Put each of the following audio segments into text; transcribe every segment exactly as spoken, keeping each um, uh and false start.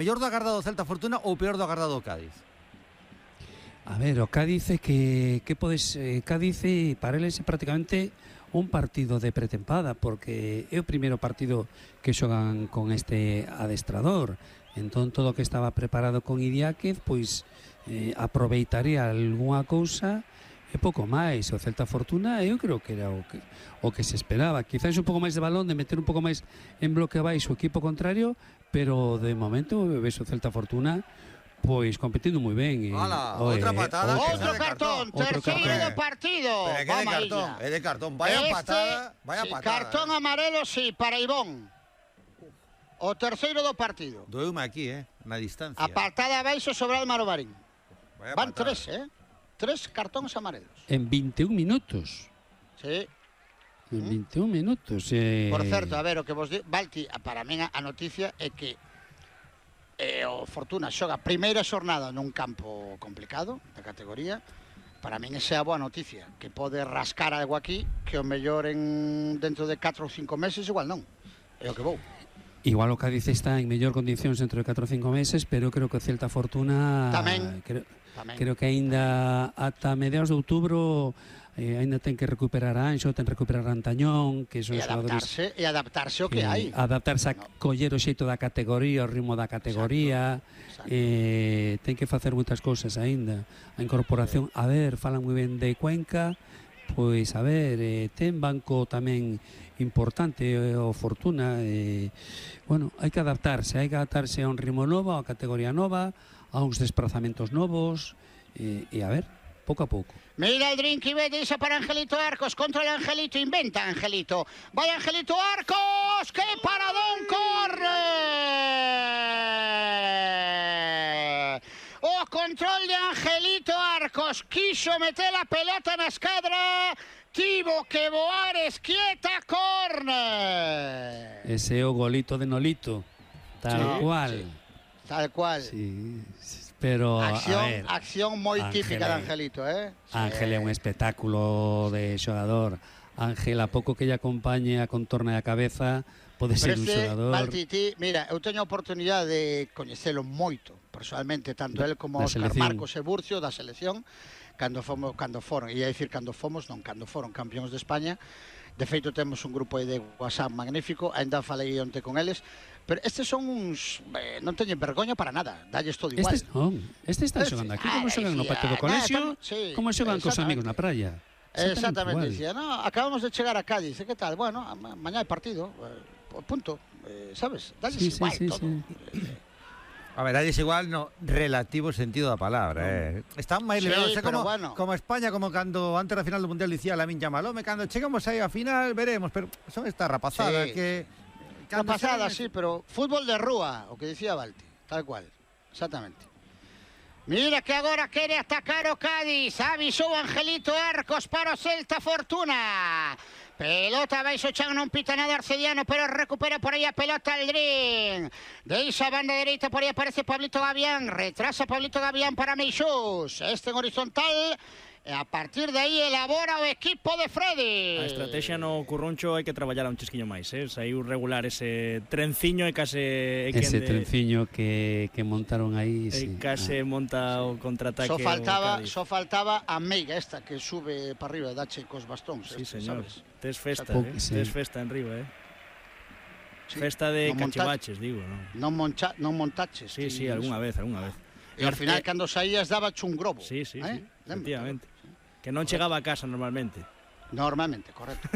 Mellor do agardado Celta Fortuna ou peor do agardado Cádiz? A ver, o Cádiz é que, que podes, eh, Cádiz é, para eles é prácticamente un partido de pretempada, porque é o primeiro partido que xogan con este adestrador. Entón todo o que estaba preparado con Idiáquez, pois eh, aproveitaría algunha cousa e pouco máis. O Celta Fortuna eu creo que era o que, o que se esperaba, quizás un pouco máis de balón, de meter un pouco máis en bloque abaixo o equipo contrario, pero de momento ves o Celta Fortuna pois competindo moi ben. Ola, outra patada. Outro cartón, terceiro do partido. Pero que de cartón, é de cartón. Vaya este, patada, vaya sí, patada. Cartón eh. amarelo, sí, para Ivón. O terceiro do partido. Doeume aquí, eh, na distancia. A patada abaixo sobre Álvaro Marín. Vaya Van patada. tres, eh? Tres cartóns amarelos. En vinte e un minutos. Sí. En vinte e un minutos. Eh... Por certo, a ver, o que vos di... Balti, para min a noticia é que eh, o Fortuna xoga a primeira xornada nun campo complicado da categoría. Para min esa é a boa noticia, que pode rascar algo aquí que o mellor en dentro de catro ou cinco meses igual non. É o que vou. Igual o Cádiz está en mellor condicións dentro de catro ou cinco meses, pero creo que o Celta Fortuna tamén, creo, tamén. creo que aínda ata mediados de outubro eh, aínda ten que recuperar a Anxo, ten que recuperar a Antañón, que son e adaptarse, e adaptarse o que, que hai. Adaptarse a no. coller o xeito da categoría, o ritmo da categoría. Exacto. Exacto. Eh, ten que facer moitas cousas aínda. A incorporación, sí. A ver, falan moi ben de Cuenca, pois a ver, eh, ten banco tamén importante eh, o Fortuna, eh, bueno, hai que adaptarse, hai que adaptarse a un ritmo novo, a categoría nova, a uns desplazamentos novos, eh, e a ver, pouco a pouco. Mira el drink y ve, dice para Angelito Arcos, contra el Angelito, inventa Angelito. Vaya Angelito Arcos, ¡qué paradón, corre! O control de Angelito Arcos, quiso meter la pelota na escadra, tivo que voar esquieta, corner. Ese é o golito de Nolito, tal sí, cual. Sí, tal cual. Sí, pero acción, a ver, acción moi típica de Angelito, eh? Ángel é un espectáculo de xogador. Ángel, a pouco que lle acompañe a contorna da cabeza, pode ser un xogador. Baltiti, mira, eu teño a oportunidade de coñecelo moito, personalmente, tanto él como Óscar Marcos e Burcio da selección, cando fomos, cando foron, ia dicir cando fomos, non, cando foron campións de España. De feito, temos un grupo de WhatsApp magnífico, ainda falei onte con eles, pero estes son uns... Eh, non teñen vergoña para nada, dalles todo igual. Estes non, estes están xogando aquí, como xogan no patio do colexio, sí, como xogan cos amigos na praia. Exactamente, dicía, no, acabamos de chegar a Cádiz, que tal? Bueno, mañá hai partido, eh, punto, eh, sabes? Dalles sí, igual sí, sí, todo. Sí. A ver, dalles igual no relativo sentido da palabra, eh. Están máis sí, liberados, como, bueno. como España, como cando antes da final do Mundial dicía Lamine Yamal, home, cando chegamos aí a final veremos, pero son esta rapazada sí. que... Rapazada, sí, pero fútbol de rúa, o que dicía Balti, tal cual, exactamente. Mira que agora quere atacar o Cádiz, avisou Angelito Arcos para o Celta Fortuna. Pelota baixo chan, non pita nada Arcediano, pero recupera por aí a pelota Aldrin. Deixa a banda dereita, por aí aparece Pablito Gavián, retrasa Pablito Gavián para Meixús. Este en horizontal, e a partir de aí elabora o equipo de Freddy. A estrategia no Curruncho hai que traballar un chisquiño máis, eh? Saiu regular ese trenciño e case... Ese de... trenciño que, que montaron aí, sí. E ah. case monta o contraataque. Só faltaba, só faltaba a meiga esta que sube para arriba, dache cos bastóns. Sí, este, señor. Sabes? Tes festa, eh? Sí. Tes festa en riba, eh? Sí. Festa de no cachivaches, digo, non? Non, moncha, non montaches. Sí, sí, algunha vez, algunha vez. E ao final, cando saías, daba un globo. Sí, sí, eh? sí, efectivamente. Que non chegaba a casa normalmente. Normalmente, correcto.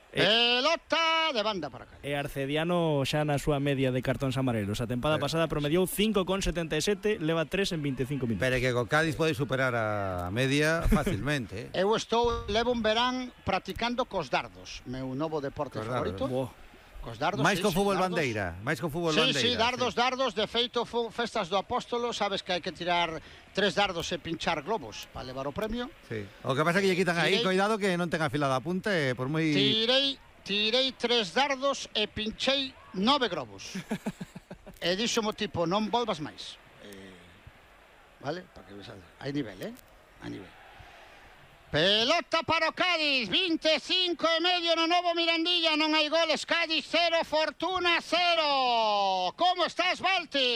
Pelota de banda para cá. E Arcediano xa na súa media de cartóns amarelos. A tempada pero, pasada promediou cinco con setenta e sete, leva tres en vinte e cinco minutos. Pero que co Cádiz pode superar a media facilmente. Eh? Eu estou, levo un verán practicando cos dardos, meu novo deporte cos favorito. Dardos. Cos dardos, máis sí, co fútbol sí, bandeira, máis co fútbol sí, bandeira. Sí, sí, dardos, sí. dardos, de feito, festas do Apóstolo, sabes que hai que tirar tres dardos e pinchar globos para levar o premio. Sí. O que pasa é que lle quitan tirei, aí, cuidado que non ten afilada a punta, e por moi... Tirei, tirei tres dardos e pinchei nove globos. E dixo mo tipo, non volvas máis. Eh, vale? Para que hai nivel, eh? Hai nivel. Pelota para o Cádiz, veinticinco e medio no novo Mirandilla, non hai goles. Cádiz cero, Fortuna cero. Como estás, Balti?